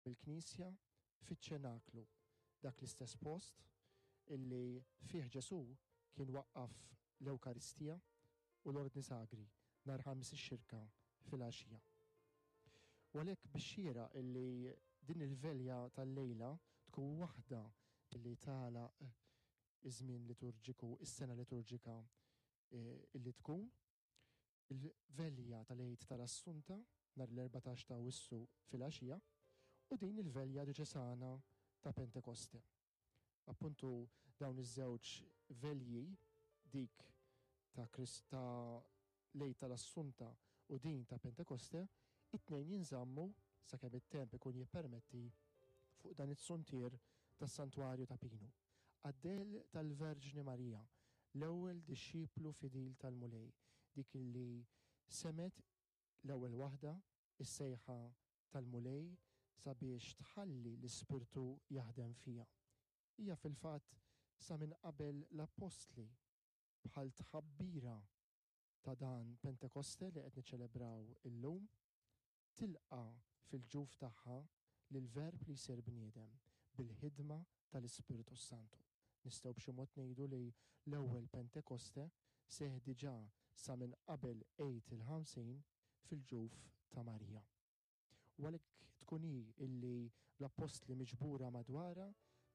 mill-Knisja fiċ-Ċenaklu, dak l-istess post illi fih Ġesù kien waqqaf l-Ewkaristija u l-Ordni Sagri nhar Ħamis ix-Xirka filgħaxija. U għalhekk bix-xieraq illi din il-velja tal-lejla tkun waħda illi tagħlaq iż-żmien liturġiku, is-sena liturġika illi tkun il-velja tal-Għid tal-Assunta nhar l-14 ta' Awwissu filgħaxija u din il-velja djoċesana ta' Pentekoste. Appuntu dawn iż-żewġ velji, dik ta' ta' l-Għid tal-Assunta u din ta' Pentekoste, it-tnejn jinżammu, sakemm it-temp ikun jippermetti, fuq dan it-suntier tas-Santwarju ta' Pinu. Għad-dell tal-Verġni Marija, l-ewwel dixxiplu fidil tal-Mulej, dik li semgħet l-ewwel waħda s-sejħa tal-Mulej sabiex tħalli l-Ispirtu jaħdem fiha. Hija fil-fatt sa minn qabel l-Appostli, bħal tħabbira ta' dan Pentekoste li qed niċċelebraw illum, tilqa' fil-ġuf tagħha lill-Verb li jsir bniedem bil-ħidma tal-Ispirtu s-Santu. Nistgħu b'xi mod ngħidu li l-ewwel Pentekoste seħħ diġà sa minn qabel Għid il-Ħamsin fil-ġuf ta' Marija. U għalhekk tkun hi illi bl-appostli miġbura madwarha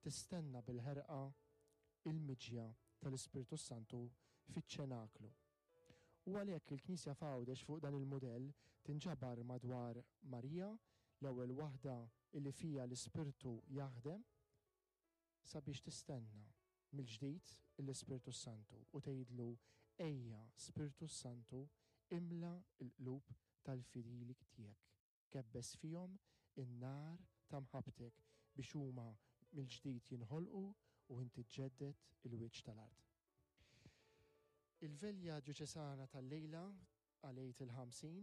tistenna bil-ħerqa il-miġja tal-Ispirtu s-Santu fiċ-ċenaklu. U għalhekk il-Knisja f'Għawdex fuq dan il-mudell tinġabar madwar Marija, l-ewwel waħda illi fiha l-Ispirtu jaħdem, sabiex tistenna mill-ġdid l-Ispirtu s-Santu u tgħidlu, Ejja, Spirtu s-Santu, imla l-qlub tal-fidili tiegħek, kebbes fihom in-nar ta' mħabbtek biex huma mill-ġdid jinħolqu u inti ġġedded il-wiċċ tal-art. Il-Velja Djoċesana tal-lejla għal Għid il-Ħamsin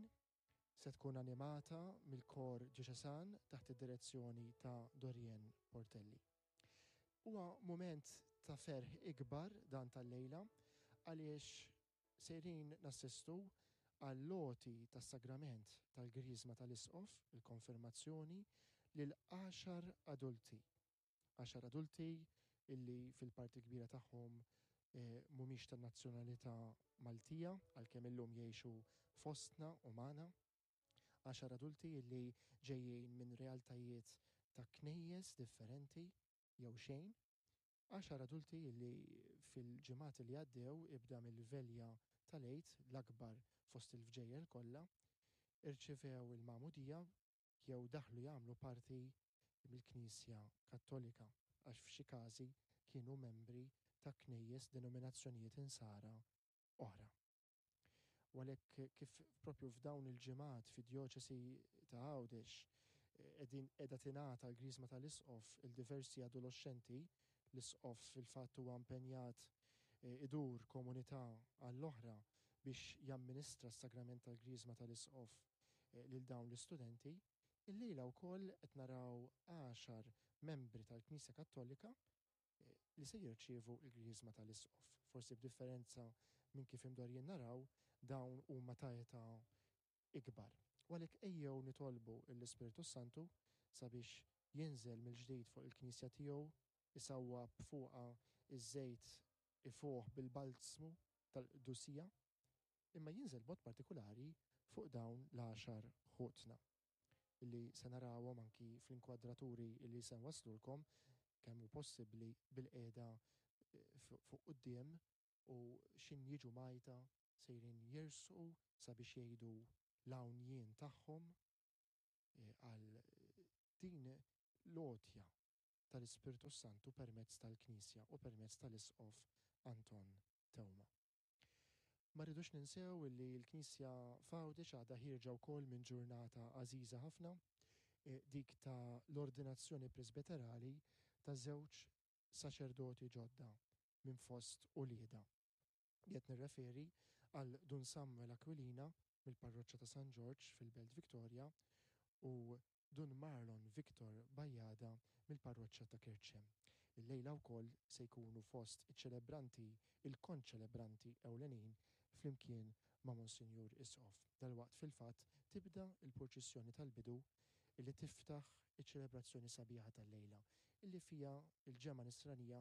se tkun animata mill-Kor Djoċesan taħt id-direzzjoni ta' Dorien Portelli. Huwa mument ta' ferħ ikbar dan tal-lejla għaliex sejrin nassistu għall-għoti tas-sagrament tal-Griżma tal-Isqof, il-Konfirmazzjoni, lil għaxar adulti. Għaxar adulti illi fil-parti kbira tagħhom mhumiex ta' nazzjonalità Maltija, għalkemm illum jgħixu fostna u magħna. Għaxar adulti illi ġejjin minn realtajiet ta' knejjes differenti jew xejn. Għaxar adulti illi fil-ġimgħat li għaddew ibda mill-velja tal-Għid, l-akbar fost il-vġejjel kollha, irċivew il-magħmudija jew daħlu jagħmlu parti mill-Knisja Kattolika għax f'xi każi kienu membri ta' knejjes denominazzjonijiet insara oħra. U għalhekk kif propju f'dawn il-ġimgħat fid-djoċesi ta' Għawdex qegħdin qiegħda tingħata l-Griżma tal-Isqof il diversi adoloxxenti, l-Isqof fil-fatt huwa impenjat idur komunità għall-oħra biex jamministra s-sagrament tal-Griżma tal-Isqof lil dawn l-istudenti, illejla wkoll qed naraw għaxar membri tal-Knisja Kattolika li se jirċievu l-Griżma tal-Isqof. Forsi b'differenza minn kif imdorrijin naraw, dawn huma ta' età ikbar. U għalhekk ejjew nitolbu l-Ispirtu s-Santu sabiex jinżel mill-ġdid fuq il-Knisja tiegħu, isawwab fuqha ż-żejt ifuħ bil-balzmu tal-qdusija, imma jinżel b'mod partikulari fuq dawn l-għaxar ħutna li se narawhom anki fl-inkwadraturi li se nwasslulkom kemm hu possibbli bilqiegħda fuq quddiem u x'in jiġu mgħajta sejrin jersqu sabiex jgħidu l-hawn jien tagħhom għal din l-għotja tal-Ispirtu s-Santu permezz tal-Knisja u permezz tal-Isqof Anton Teuma. Ma rridux ninsew li l-Knisja f'Għawdex għadha ħierġa wkoll minn ġurnata għażiża ħafna, dik ta' l-ordinazzjoni presbiterali ta' żewġ saċerdoti ġodda minn fost uliedha. Qed nirreferi għal Dun Samuel Aquilina mill-Parroċċa ta' San Ġorġ fil-Belt Victoria u Dun Marlon Victor Bajada mill-Parroċċa ta' Kerċem. Illejla wkoll se jkunu fost iċ-ċelebranti il-konċelebranti ewlenin flimkien ma' Monsinjur Isqof. Dalwaqt fil-fatt tibda l-purċissjoni tal-bidu. illi tiftaħ iċ-ċelebrazzjoni sabiħa tal-lejla, illi fiha l-ġemgħa Nisranija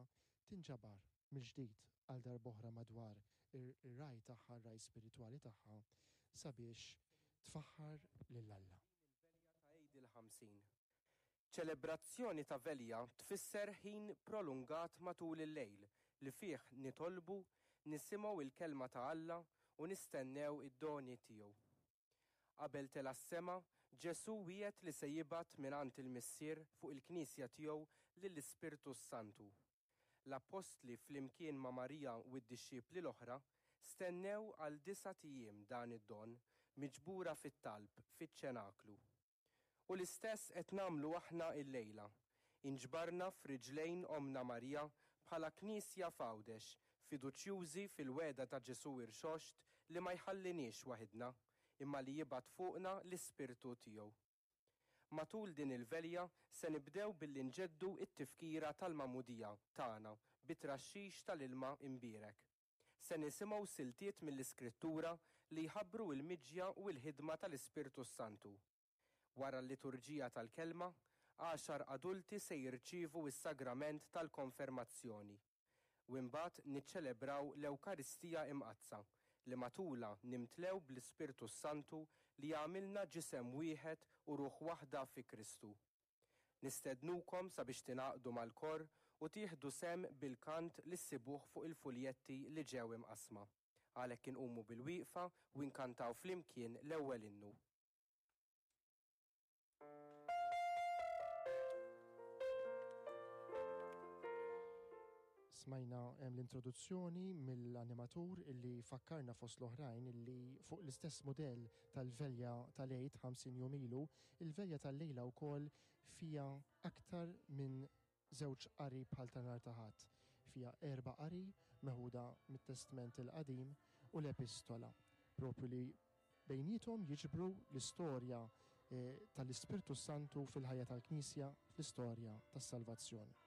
tinġabar mill-ġdid għal darb'oħra madwar ir-ragħaj tagħha, r-ragħaj spiritwali tagħha, sabiex tfaħħar lil Alla. Din il-velja ta' Għid il-50. Ċelebrazzjoni ta' velja tfisser ħin prolungat matul il-lejl li fih nitolbu, nisimgħu l-Kelma ta' Alla u nistennew id-doni tiegħu. Qabel tela' s-sema, Ġesù wiegħed li se jibgħat mingħand il-Missier fuq il-Knisja tiegħu lill-Ispirtu s-Santu. L-appostli flimkien ma' Marija u d-dixxipli l-oħra stennew għal disat ijiem dan id-don, miġbura fit-talb fiċ-ċenaklu. U l-istess qed nagħmlu aħna illejla. Inġbarna f'riġlejn Ommna Marija bħala Knisja f'Għawdex, fiduċjużi fil-wegħda ta' Ġesù Irxoxt li ma jħalliniex waħidna, imma li jibgħat fuqna l-Ispirtu tiegħu. Matul din il-velja se nibdew billi nġeddu t-tifkira tal-Magħmudija tagħna bit-traxxix tal-ilma imbierek. Se nisimgħu siltiet mill-Iskrittura li jħabbru l-miġja u l-ħidma tal-Ispirtu s-Santu. Wara l-liturġija tal-Kelma, għaxar adulti se jirċievu s-sagrament tal-Konfermazzjoni. U imbagħad niċċelebraw l-Ewkaristija Imqaddsa, li matulha nimtlew bl-Ispirtu s-Santu li jagħmilna ġisem wieħed u ruħ waħda fi Kristu. Nistednukom sabiex tingħaqdu mal-kor u tieħdu sehem bil-kant li ssibuh fuq il-fuljetti li ġew imqassma. Għalhekk inqumu bil-wieqfa u nkantaw flimkien l-ewwel innu. Smajna l-introduzzjoni mill-animatur illi fakkarna fost l-oħrajn illi fuq l-istess mudell tal-velja tal-Għid 50 jum ilu, il-velja tal-lejla wkoll fiha aktar minn żewġ qari bħal ta' nhar ta' Ħadd. Fiha erba' qari meħuda mit-Testment il-Qadim u l-Epistola, propju li bejniethom jiġbru l-istorja tal-Ispirtu s-Santu fil-ħajja tal-Knisja, fl-istorja tas-salvazzjoni.